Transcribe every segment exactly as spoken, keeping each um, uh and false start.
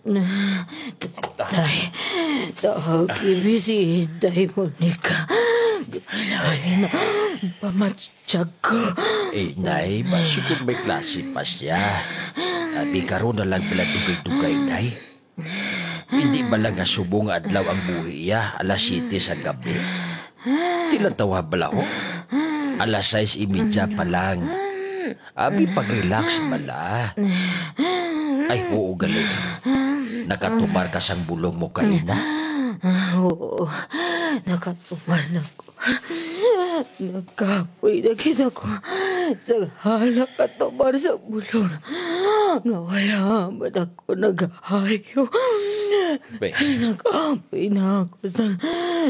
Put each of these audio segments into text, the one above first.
Tay, tagi mi si Inday Monica. Kailangan na pamatsyag ko. Eh, Nay, basi kung may klase pa siya. Abi, karon na lang pala dugay-dugay, Nay. Hindi ba lang nga subong nga adlaw ang buhi iya, alas siyete sa gabi? Di lang tawa bala, oh. Alas sais y media pa lang. Abi, pag-relax bala. Ay, oo, gali. Nakatumar ka sang bulong mo kaina? Ah, oo, nakatumar na ko. Nagkapoy na kita ko sa halak at tumar sa bulong nga wala man ako nagahayo. Be. Nag-apoy na ako sa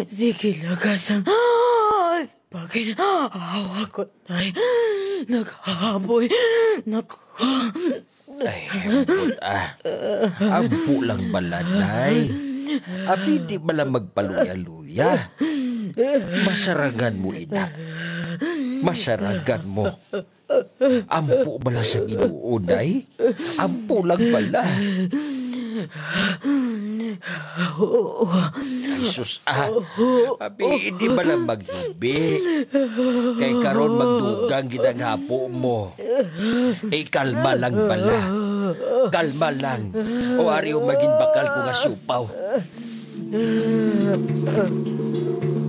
sige lagas ang paginahawa ko, tay. Naghaboy na ko. Ay, ambot, ah. Ampo lang bala, Nay. Abi, di bala magpaluya-luya. Masarangan mo, ina. Masarangan mo. Ampo bala sa Ginoo, Nay. Ampo lang bala. Ay, sus, ah. Abi, di bala maghibi. Kay karon magdugang gid ang hapo mo. Eh, kalma lang bala. Kalma lang. O ari, o magin bakal ko nga siupaw.